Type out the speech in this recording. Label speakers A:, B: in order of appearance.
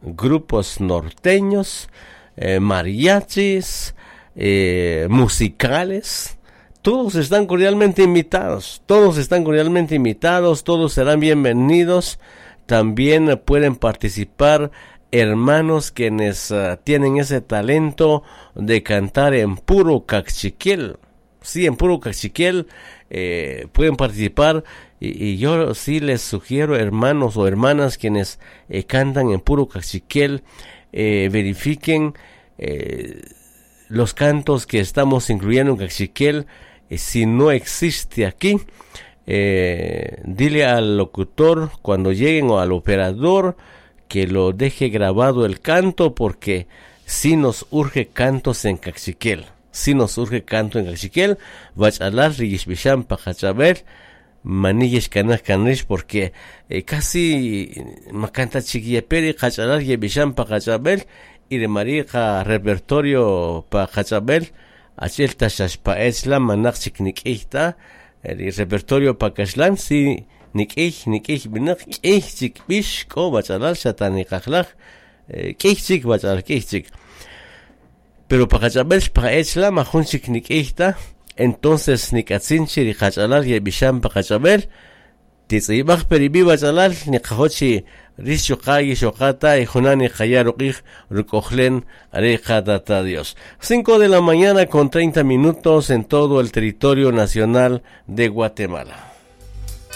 A: Grupos norteños, eh, mariachis, eh, musicales, todos están cordialmente invitados, todos están cordialmente invitados, todos serán bienvenidos. También pueden participar hermanos quienes tienen ese talento de cantar en puro cachiquel. Sí, en puro cachiquel pueden participar y, yo sí les sugiero, hermanos o hermanas quienes cantan en puro cachiquel, verifiquen los cantos que estamos incluyendo en cachiquel. Si no existe aquí, dile al locutor cuando lleguen o al operador que lo deje grabado el canto porque si nos urge cantos en cachiquel. Si nos urge canto en cachiquel, wach'alal ri yixb'ixan pa qach'ab'el mani yixkanaj kan rix porque casi makanta chik yepe ri qach'alal yeb'ixan pa qach'ab'el y rma ri' qa repertorio pa qach'ab'el achi'el ta xa xpa'e chla' manaq chik nik'iy ta ri repertorio pa kaxlan si nik'iy nik'iy b'inaq k'iy chik b'ix k'o wach'alal xa ta niqajlaj k'iy chik wach'alal k'iy chik pero pa qach'ab'el xpa'e chla' majun chik nik'iy ta entonces nik'atzin chi ri qach'alal yeb'ixan pa qach'ab'el titz'ib'aj pe rib'i wach'alal niqajo' chi rix chuqa' yixoqa ta y junan niqaya' ruq'ij ruk'ojlen are qatata Dios. 5 de la mañana con 30 minutos en todo el territorio nacional de Guatemala.